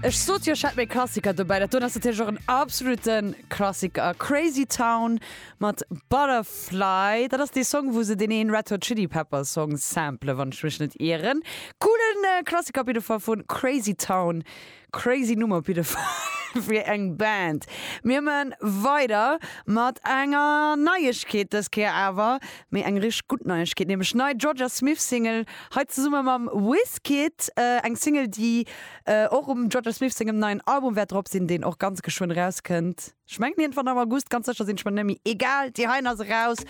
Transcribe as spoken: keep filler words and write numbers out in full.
Ech sot jo, ech hätt méi Klassiker dobäi. Dat doen ass natierlech och en absolute Klassiker. Crazy Town mat Butterfly. Dat ass dee Song, wou se deen een Red Hot Chili Peppers Song samplen, wann ech mech net ieren. Coolen äh, Klassiker op jidde Fall vun Crazy Town. Crazy Nummer op jidde Fall fir eng Band. Mir man weider mat enger Neiegkeet dës Kéier awer, mee eng richteg gutt Neiegkeet, nämlech nei Jorja Smith Single, hei zesumme mam Wizkid, äh, eng Single, déi äh, och um Jorja Smith sengem neien Album wäert drop sinn, deen och ganz geschwënn rauskënnt. Ech mengen iergendwann am August, ganz sécher sinn ech mer net méi. Egal, déi hei ass raus.